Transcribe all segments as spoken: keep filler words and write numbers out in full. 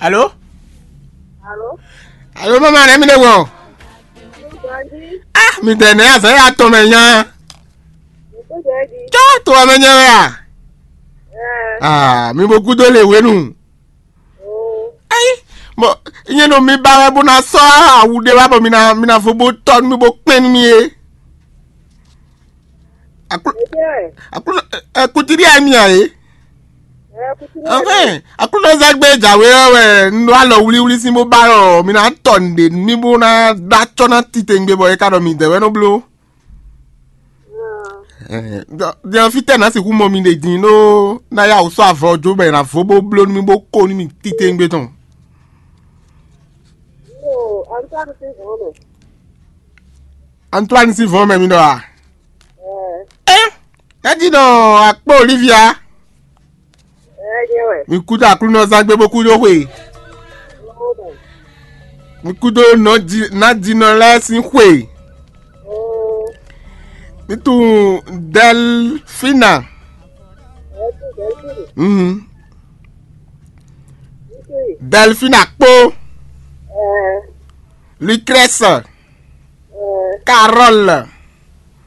Alo? Alo? Alo, mama, nɛ mi ɖe wɔ? Nyi gbɔn jí. Ah, mi tɛ nɛ azɛ ya tɔn mɛ nya. Nyi kó jɛ jí. Tsɔ to wɛ mɛ nya wɛ a? Ɛɛ. Ah, mi bo gúdo le wenu. Oo. Ayi, bɔ nyɛ nɔ mi ba wɛ bó ná sɔ́ awu ɖé wá bɔ mi ná mi ná fó bó tɔ́ nú mi bó kpɛn nú mi é. Aklu Ɛjɛ. Aklu ɛ kutiri ɛ mi a é. Ɛɛ, kuti lɛ. Enfin, aklu zagbe jawe ɔ wɛ un ɖó alɔ wlíwlí sín bó ba ɔ mi ná tɔ nǔɖé nú mi bó ná ɖó acɔ́ ná titewungbe bɔ é ka ɖɔ mi dɛ wɛ nɔ bló. Ɛɛ, dɔ- dɔ fítɛ́ ná sixú mɔ mi ɖe din ɖó ná yá wǔ sɔ́ avɔ jó bɔ è nǎ vo bó bló nú mì bó ko nú mì titewungbe tɔn. Yo, Antoine sín vɔ̌ mɛ. Antoine sín vɔ̌ mɛ mi ɖɔ a? Ɛɛ. Ɛ, é jí nɔ akpó Olivia. Ɛɛ, nyɛ wɛ. Mi kú dó Aklúnɔzán gbé bó kú dó xwe. Yoo, mɛ. Mi kú dó nɔjí- nádínɔ lɛ́ɛ sín xwe. Oo. Mi tunwun Delfina. Ɛɛ, tu Delfina. Mhm. Nítorí. Delfina kpó. Ɛɛ. Lucrèce. Ɛɛ. Carole.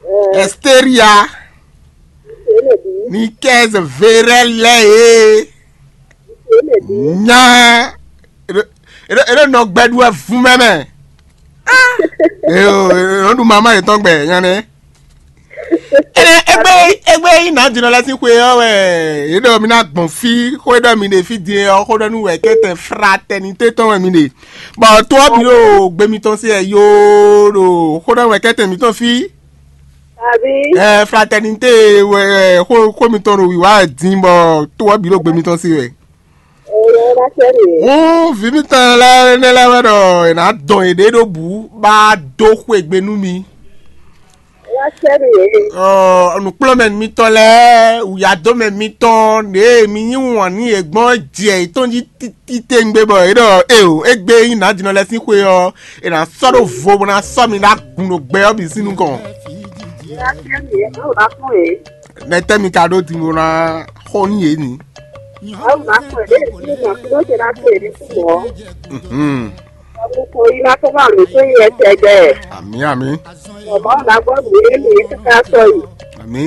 Ɛɛ. Esteria. Nítorí lè bí. Nikez Verel lɛ e. Nítorí lè bí. Nya. Eɖo eɖo eɖo nɔ gbɛɖu wɛ vun mɛ mɛ. Eyo, eɖo ɖu mama yetɔn gbɛ nya nɛ. Ene egbe egbe yi na dinɔ lɛ sín xwe ɔ́ wɛ. Eɖɔ mi na gbɔn fí xó eɖɔ mi ɖe fí din ɔ́ xó ɖɔ nú wɛ kɛtɛ fraternité tɔn wɛ mi ɖe. Bɔ to ɔ́ bǐ ɖo gbe mitɔn sí ɛ yoo ɖo xó ɖɔ wɛ kɛtɛ mitɔn fí. Àbí? Ɛ fraternité wɛ ɛ xó xó mitɔn ɖo wǐwá wɛ din bɔ to ɔ́ bǐ ɖo gbe mitɔn sí wɛ. Èyí ẹ bá tẹ́ nìyẹn. Wú vǐ mitɔn lɛ́ɛ énɛ́ lɛ́ɛ wɛ ɖɔ è nǎ dɔn yěɖée ɖó bǔ bá dó xwegbe nú mi. Ẹ bá tẹ́ nìyẹn. Ɔ nǔkplɔ́nmɛ mitɔn lɛ́ɛ wǔyádomɛ mitɔn ɖě mi yí wǎn nú yě gbɔn jɛ yětɔn jí títí tɛ́ngbé bɔ é ɖɔ éeǒ égbé nyí nǎjínɔ lɛ́ɛ sín xwe ɔ́, è nǎ sɔ́ ɖó vo bó ná sɔ́ mi ɖó agun ɖo gbɛ ɔ́ bǐ sín nukɔn. Ẹ bá tẹ́ nìyẹn, báwo bá fún yìí? Nɛtɛ́ mi ka ɖó din bó ná xo nú yě ni? Awu ná kpɔ́n ɖě ní ma kúndó ce ná kpe ní kú mɔ̌. Mhm. Awu ko yi ná kó má lǒ tó yi ɛtɛ gbɛ. Amǐ, amǐ. Bɔbɔ ná gbɔ nǔ yé mi káká sɔ yi. Amǐ.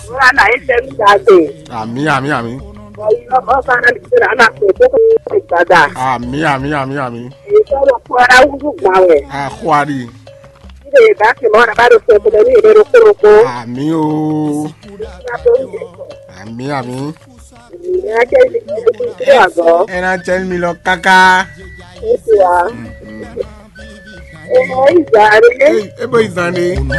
Wúrà ná yé tẹ́ ní dàgbé. Amǐ, amǐ, amǐ. Bɔ yi lɔ bɔ bá ná lè ná ná kpe tó kó gbada. Amǐ, amǐ, amǐ, amǐ. Èyí sọ̀rọ̀ kó ara wúdú gbà wẹ̀. Àxwárí. Ilé ìgbà tí mo rà bá lè fún ọkùnrin ní ìlú Kúròkó. Àmì o. Ìgbà tó ń bọ̀. Àmì, àmì. Ìyá jẹ́ ibi tí ó ti ń kúrò àgọ́. Ẹ náà jẹ́ mi lọ káká. Ó ti wá. Ẹ mọ ìgbà rẹ̀. Ẹ bó ìzàn ni.